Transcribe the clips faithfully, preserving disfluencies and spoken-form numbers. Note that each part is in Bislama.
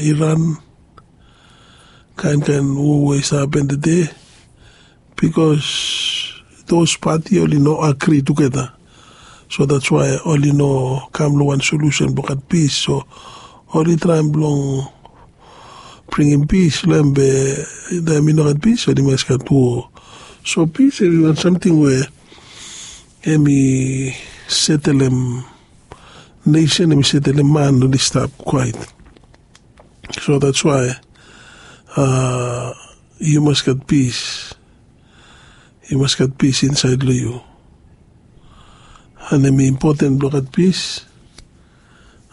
Iran, kaen kaen wo we i stap hapen tede, bikos dos pati oli no agri tugeta. So dats wae oli no kam long wan solusen blong gat pis. So oli traem blong bringim pis long hem, be taem i no gat pis oli mas gat wo. So pis hem i wan samting we hem i setelem nesen, hem i setelem man oli stap kwaet. So dats wae yu mas gat pis. Yu mas gat pis insaed long yu. An hem i impoten blong gat pis.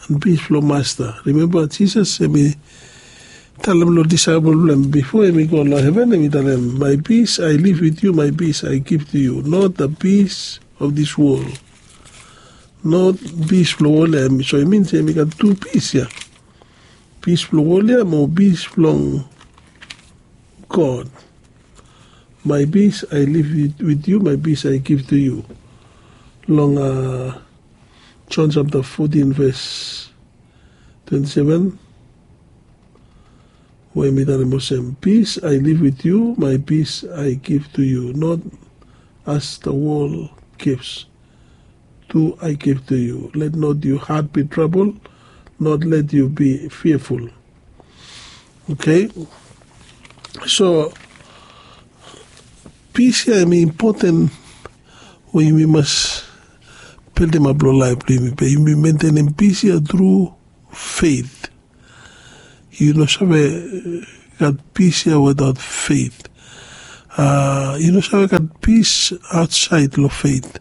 An pis blong masta, rimemba jisas hem i talem long disaepol blong hem bifo hem i go long heven, hem i talem, my peace I leave with you, my peace I give to you, not the peace of this world. Not pis blong wol ya. So i min se hem i gat tu pis ya. Pis blong wol ya mo pis blong God. My peace I leave with you, my peace I give to you. Long John sapta fotin ves twenti seven, we mi talem olsem, peace I leave with you, my peace I give to you, not as the world gives do I give to you. Let not your heart be troubled, not let you be fearful. Okay. So pis ya hem i impoten we yumi mas bildimap long laef blong yumi, be yumi mentenem pis ya tru feit. Yu no save gat pis ya wetaot feit. Yu no save gat pis aotsaed long feit.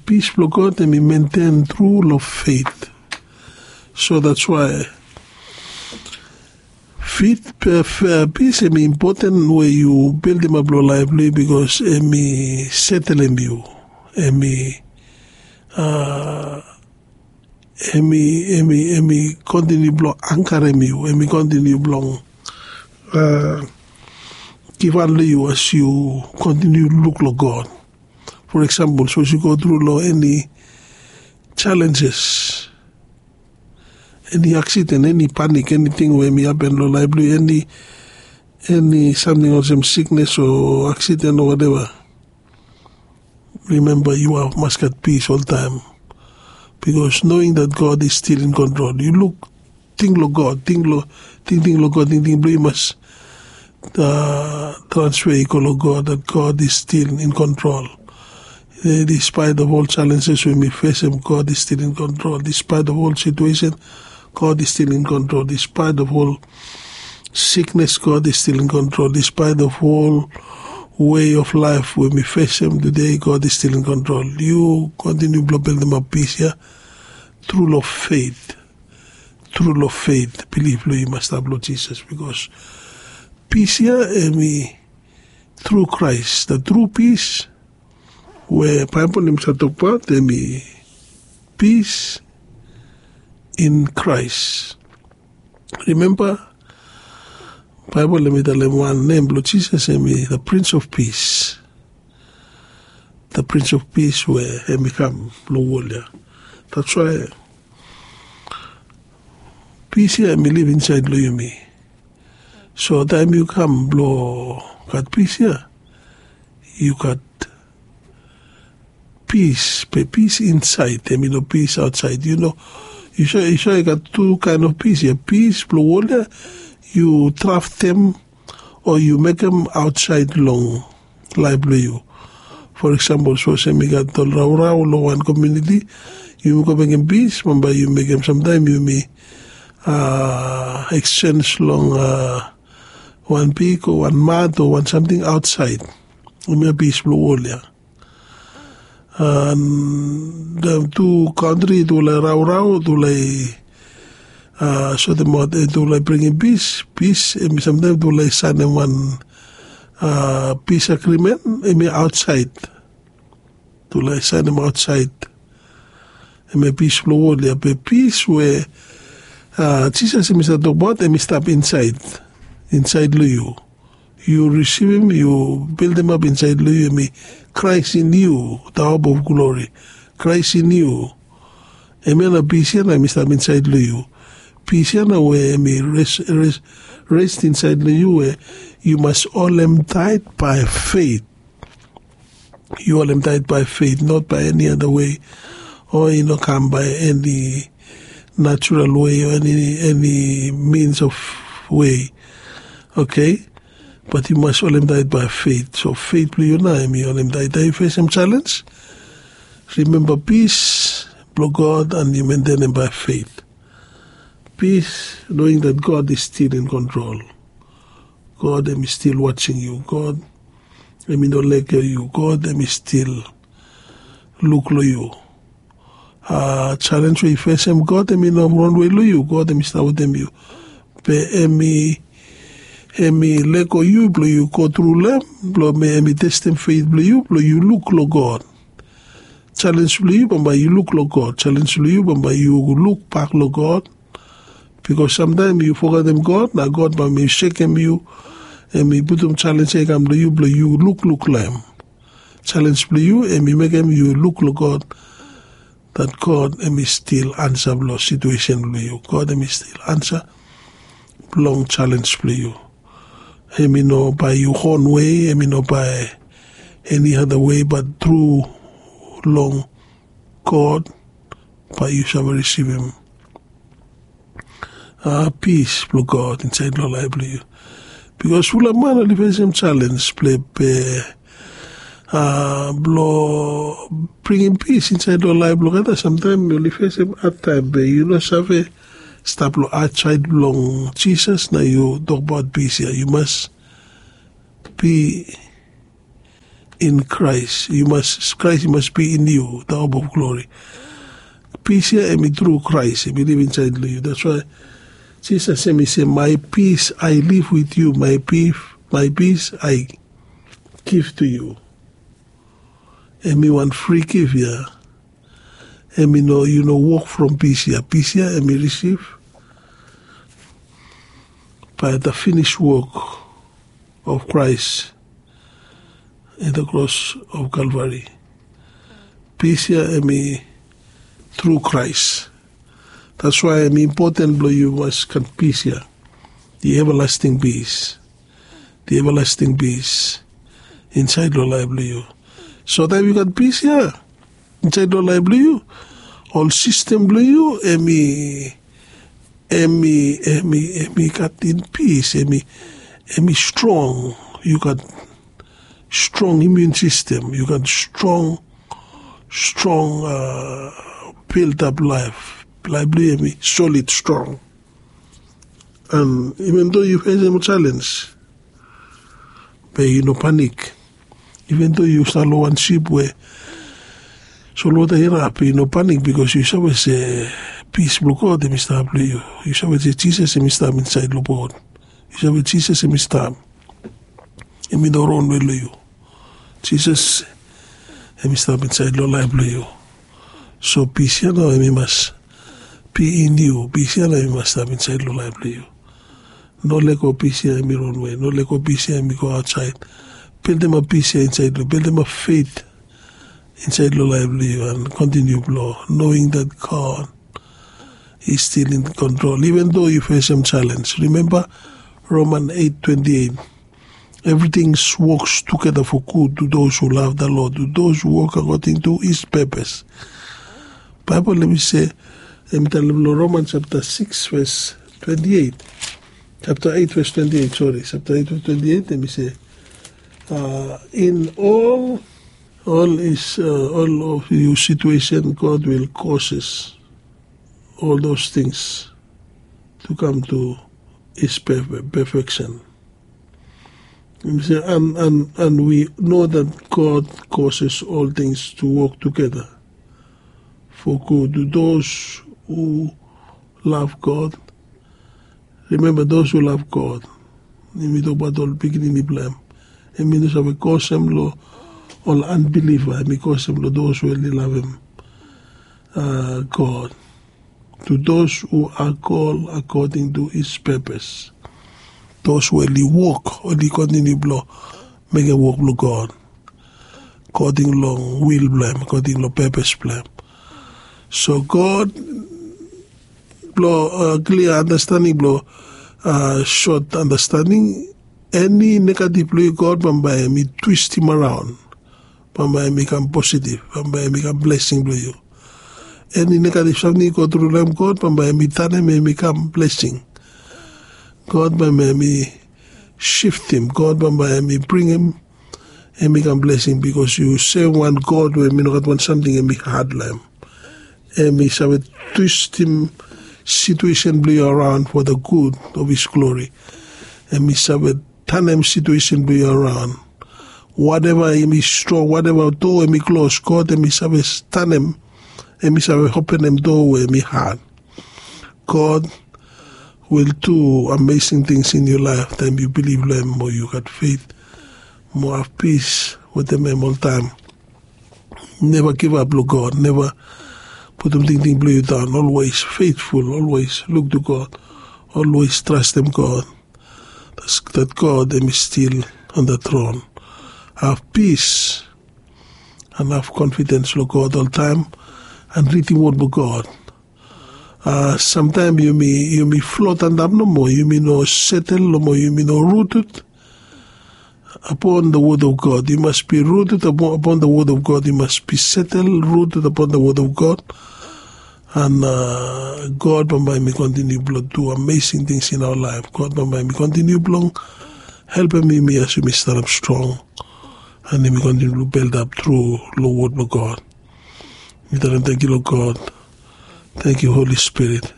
Pis blong God hem i menten tru long feit. So dats wae feit, pis hem i impoten we yu bildimap long laef blong yu, bikos hem i setelem yu. Hem i hem i hem i hem i kontiniu blong angkarem yu, hem i kontiniu blong givhan long yu as yu kontiniu luk long God. For eksampol sapos yu go tru long eni jalenjes, eni aksiden, eni panik, eniting we hem i hapen long laef blong yu, eni eni samting olsem siknes o aksiden o wateva, rimemba yu mas gat pis oltaem. Bikos noing dat God is stil in kontrol, yu luk ting long God, tingting long God, tingting blong yu mas transfe i go long God, dat God is stil in kontrol. Dispaet of ol jalenjes we mi fesem, God is stil in kontrol. Dispaet of ol situesen, God is stil in kontrol. Dispaet of ol siknes, God is stil in kontrol. Dispaet of ol wei of laef we mi fesem tude, God is stil in kontrol. Yu kontiniu blong bildimap pis ya tru long feit. Tru long feit, bilif blong yu mas stap long Jisas, bikos pis ya hem i tru Kraes. Da tru pis we Baebol hem i save tokbaot hem i pis in Kraes. Rimemba, Baebol hem i talem wan nem blong Jisas hem i da Prins of Pis. Da Prins of Pis we hem i kam long wol ya. Dats wae pis ya hem i liv insaed long yumi. So taem yu kam blong gat pis ya, yu gat pis, be pis insaed, hem i no pis aotsaed. Yu no, yu save gat tu kaen of pis ya. Pis blong wol ya yu draftem o yu mekem aotsaed long laef blong yu. For eksampol, sapos hem i gat ol raorao long wan komuniti, yumi go mekem pis, bambae yu mekem, samtaem yumi eksens long wan pig o wan mat o wan samting aotsaed. Hem ya pis blong wol ya. An tu kantri tu lae raorao, tu lae sotemaot, tu lae bringim pis. Pis hem i samtaem tu lae saenem wan pis agrimen, hem i aotsaed. Tu lae saenem aotsaed. Hem ya pis blong wol ya. Be pis we Jisas hem i save tokbaot hem i stap insaed, insaed long yu. Yu risivim, yu bildimap insaed long yu, hem i Kraes in yu, da hop of glori. Kraes in yu. Hem ya na pis ya na hem i stap insaed long yu. Pis ya nao we em i res insaed long yu we yu mas holem taet bae feit. Yu holem taet bae feit, not bae eni ada wei, o i no kam bae eni natural wei o eni mins of wei. Oke, bat yu mas holem taet bae feit. So feit blong yu nao em i holem taet taem yu fesem jalens. Rimemba pis blong god an yu mentenem bae feit. Pis, noing dat god is stil in kontrol. God em i stil wasing yu. God em i no lego yu. God em i stil luk long yu. A jalens we yu fesem, god em i no ronwe long yu. God em i stap wetem yu. Be em i em i lego yu blong yu go tru long em, blong em i testem feit blong yu blong yu luk long god. Jalens blong yu bambae yu luk long god. Jalens blong yu bambae yu lukbak long god. Bikos samtaem yu fogetem god na god bae mi sekem yu. Em i putum jalens ya i kam long yu blong yu lukluk long em. Jalens blong yu em i mekem yu luk long god, dat god em i stil ansa blong situesen blong yu. God em i stil ansa blong jalens blong yu. Em i no bae yu hon wei, em i no bae eni ada wei, bat tru long god bae yu save risivim a pis blong god insaed long laef blong yu. Bikos fulap man oli fesem jalens blong be a blong bringim pis insaed long laef blong olgeta. Samtaem oli fesem adtaem be yu no save stap long adsaed blong jisas na yu tokbaot pis ya. Yu mas bi in kraes. Yu mas kraes i mas bi in yu, da hope of glori. Pis ya em i tru kraes em i liv insaed long yu. Dats wae jisas em i se, my peace I live with you, my peace I give to you. Em i wan fri gif ya. Em i no yu no wok from pis ya. Pis ya em i risiv bae da finis wok of kraes in da kros of kalvari. Pis ya em i tru kraes. Dats wae em i impoten blong yu mas gat pis ya. Di evalasting pis. Di evalasting pis insaed long laef blong yu. So taem yu gat pis ya insaed long laef blong yu, ol sistem blong yu em i em i em i em i gat in pis. Em i em i strong. Yu gat strong imiun sistem. Yu gat strong strong a bildap laef. Laef blong yu em i solid strong. An iven do yu fesem jalens, be yu no panik. Iven do yu stap long wan sip we solwota i rap, yu no panik bikos yu save se pis blong god em i stap long yu. Yu save se jisas em i stap insaed long bot. Yu save jisas em i stap. Em i no ronwe long yu. Jisas em i stap insaed long laef blong yu. So pis ya nao em i mas bi in yu. Pis ya nao em i mas stap insaed long laef blong yu. No lego pis ya em i ronwe. No lego pis ya em i go aotsaed. Bildimap pis ya insaed long yu. Bildimap feit insaed long laef blong yu an kontiniu blong noing dat god is stil in kontrol iven do yu fesem jalens. Rimemba roman eit twenti eit. Evriting woks tugeta fo gud tu dos hu lav da lod, tu dos hu wok akoding tu his pepes. Baebol em i se, em i talem long roman japta sikis ves twenti eit. Japta eit ves twenti eit, sori, japta eit ves twenti eit em i se, in ol ol is ol of yu situesen god wil koses ol dos tings tu kam tu his pefeksen. Em i se, an wi no dat god koses ol tings tu wok tugeta fo gud tu dos hu lav god. Rimemba dos hu lav god, em i tokbaot ol pikinini blong em. Em i no save kosem long ol anbiliva, em i kosem long dos we oli lavem god. Tu dos hu akol akoding tu his pepes. Dos we oli wok, oli kontiniu blong mekem wok blong god akoding long wil blong em, akoding long pepes blong em. So god blong klia andastanding, blong sot andastanding, eni negatif blong yu, God bambae hem i twistim araon. Bambae hem i kam positif, bambae hem i kam blesing blong yu. Eni negatif samting yu gotru long hem, God bambae hem i tanem hem i kam blesing. God bambae hem i siftim, God bambae hem i bringim hem i kam blesing, bikos yu sem wan God we hem i no gat wan samting hem i had long hem. Hem i save twistim situesen blong yu araon for the good of his glory. Hem i save tanem situesen blong yu araon. Wateva hem i strong, wateva doa hem i klos, God hem i save tanem, hem i save openem doa we hem i had. God will do amazing things in your life taem yu bilif long hem mo yu gat feit mo have pis wetem hem oltaem. Neva givap long God, neva putum tingting blong yu daon. Olwes feitful, olwes luk to God, olwes trastem God. That God hem i stil on the tron. Have pis and have konfidens long God oltaem and ridim wod blong God. Samtaem yumi flot antap nomo, yumi no setel nomo, yumi no ruted upon the word of God. You must be rooted upon, upon the word of God. You must be settled, rooted upon the word of God. And God bambae hem i kontiniu blong du amazing things in our life. God bambae hem i kontiniu blong helpem yumi as yumi stanap strong. And hem i kontiniu blong build up tru long word blong God. Mi talem tangkiu long God. Tangkiu Holy Spirit.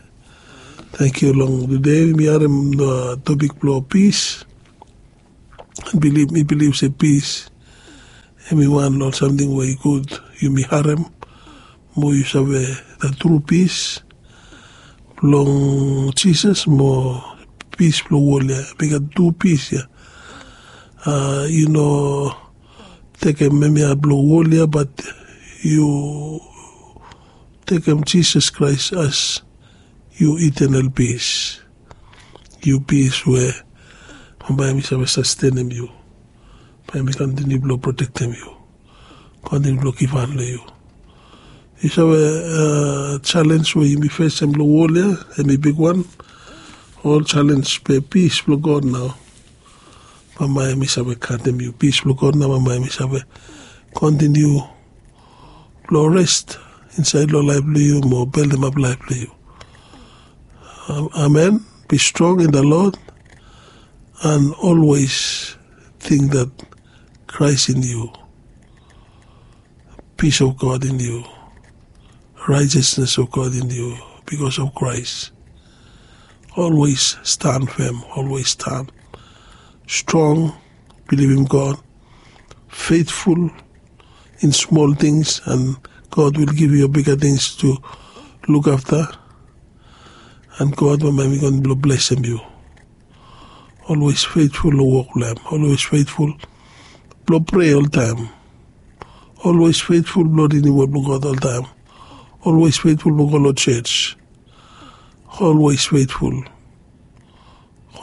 Tangkiu long tude mi harem topik blong pis. Bilif, mi bilif se pis hem i wan long ol samting we i gud yumi harem mo yu save the tru pis blong Jisas mo pis blong wol ya. Hem i gat tu pis ya. Yu no tekem hemia blong wol ya, bat yu tekem Jisas Kraes as yu itenal pis. Yu pis we bambae hem i save sastenem yu. Bae hem i kontiniu blong protektem yu, kontiniu blong givhan long yu. Yu save, jalenj we yumi fesem long wol ya hem i bigwan. Ol jalenj be pis blong God nao bambae hem i save gatem yu. Pis blong God nao bambae hem i save kontiniu blong res insaed long laef blong yu mo beldemap laef blong yu. Amen. Be strong in the Lord and always think that Christ in you, peace of God in you, righteousness of God in you because of Christ. Olwes stan fem, olwes stan strong, bilivim God, feitful in smol tings, and God will give you bigger things to look after. And God bambae hem i kontiniu blong blesem yu. Olwes feitful long wok blong hem. Olwes feitful blong prea oltaem. Olwes feitful blong ridim wod blong God oltaem. Olwes feitful blong go long jos. Olwes feitful.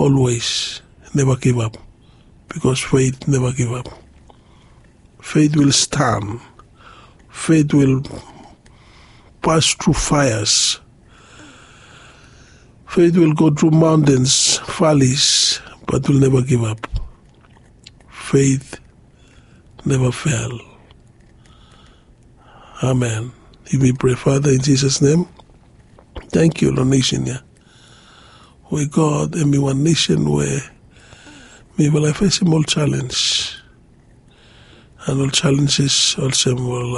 Olwes neva givap, bikos feit neva givap. Feit wil stan. Feit wil pas tru faeas. Feit wil go tru maontens, valis, bat wil neva givap. Feit neva fel. Amen. Yumi prea, Fada, in Jisas nem, tangkiu long nesen ya we God hem i wan nesen we mifala i fesem ol jalenj. And ol jalenjes olsem ol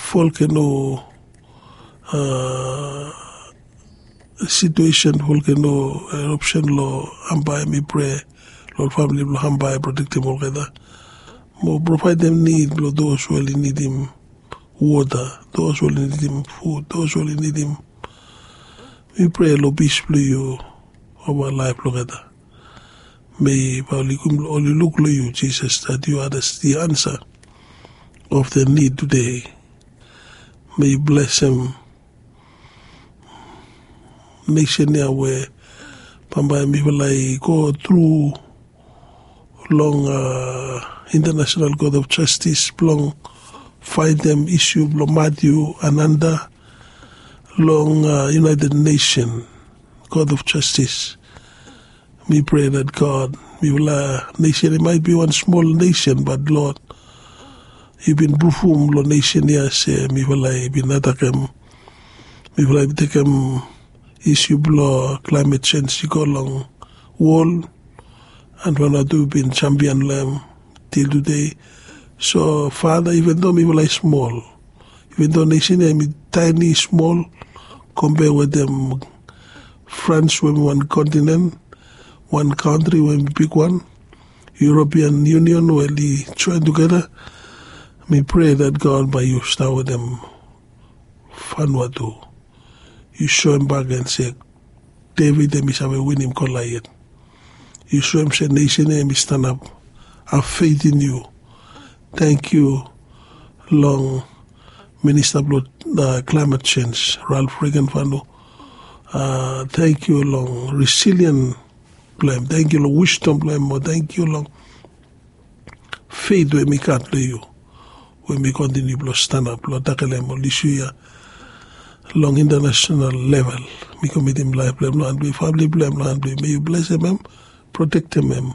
volkeno, situesen volkeno, erapsen long Hambai. Mi prea long ol famili blong Hambai, protektem olgeta mo provaedem nid blong dos we oli nidim wota, dos we oli nidim fud, dos we oli nidim. Mi prea long pis blong yu ova laef blong olgeta. Mei bae oli luk long yu, Jisas, that you are the answer of the need today. Mei yu blesem nesen ya we bambae mifala i go tru long International Court of Justice blong faetem isu blong Matthew Ananda long united nesen, god of jastis. Mi prea dat god, mifala nesen i mait bi wan smol nesen bat lod, yu bin prufum long nesen ya se mifala i bin atakem, mifala i bin tekem isu blong klaimet sens i go long wol. An fana tu bin jampian long em til tude. So fada, iven do mifala i smol, iven do nesen ya em i taeni smol, kompea wetem frans we em i wan kontinen, wan kantri we em i bigwan, european union we oli joen tugeta. Mi prea dat god bae yu stap wetem fanua tu. Yu soem bak gen se devid em i save winim kolaiet. Yu soem se nesen ya em i stanap, have feit in yu. Tangkiu long minista blong klaimet sens, ralf regenfanu. Tangkiu long resilien blong em, tangkiu long wisdom blong em, mo tangkiu long feit we mi gat long yu, we mi kontiniu blong stanap blong takelem ol isu ya long intanasonal level. Mi komitim laef blong em long han blong yu, famili blong em long han blong yu. Me yu blesem em, protektem em,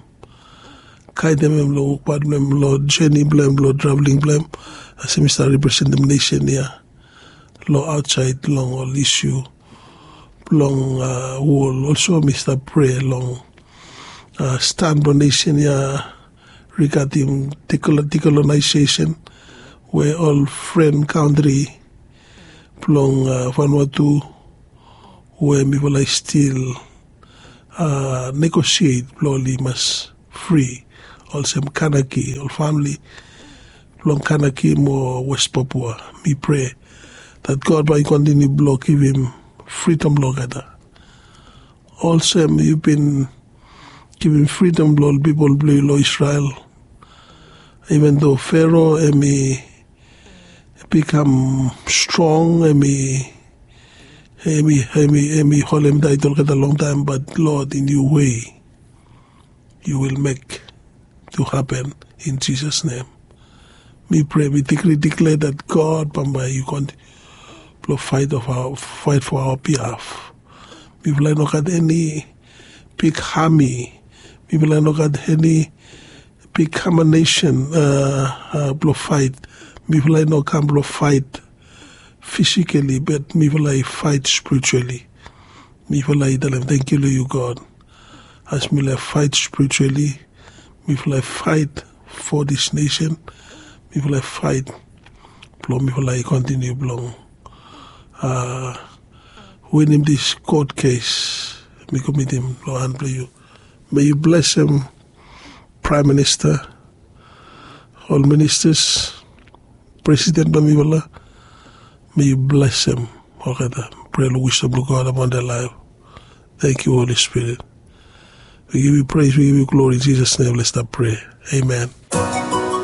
gaedem em long wokbaot blong em, long jeni blong em, long traveling blong em, olsem mi stap representem nesen ya long aotsaed long ol isu blong wol. Olso mi stap prea long stan blong nesen ya, rigadim dekolonaiseisen we ol fren kantri blong fanua tu, we mifala i stil negosiet blong oli mas fri, olsem kanaki, ol famili blong kanaki mo west papua. Mi prea dat god bae i kontiniu blong givim fridom long olgeta, olsem yu bin givim fridom long ol pipol blong yu long isrel. Iven do fero em i bikam strong, em i em i em i em i holem taet olgeta longtaem, bat lod in yu wei yu wil mek tu hapen. In jisas nem mi prea, mi dikri diklea dat god bambae yu kontiniu blong faet fo aoa biaf. Mifala i no gat eni bik hami, mifala i no gat eni bik kamanesen blong faet. Mifala i no kam blong faet fisikali, bat mifala i faet spirituali. Mifala i talem tangkiu long yu god, as mifala i faet spirituali, mifala i faet fo dis nesen. Mifala i faet blong mifala i kontiniu blong winim dis kot kes mi komitim long han blong yu. Me yu blesem praem minista, ol ministas, presiden blong mifala. Me yu blesem olgeta. Prea long wisdom blong god apon de laef. Tangkiu holi spirit. Wi givim yu pres, wi givim yu glori, jisas nem. Let's stap prea. Amen.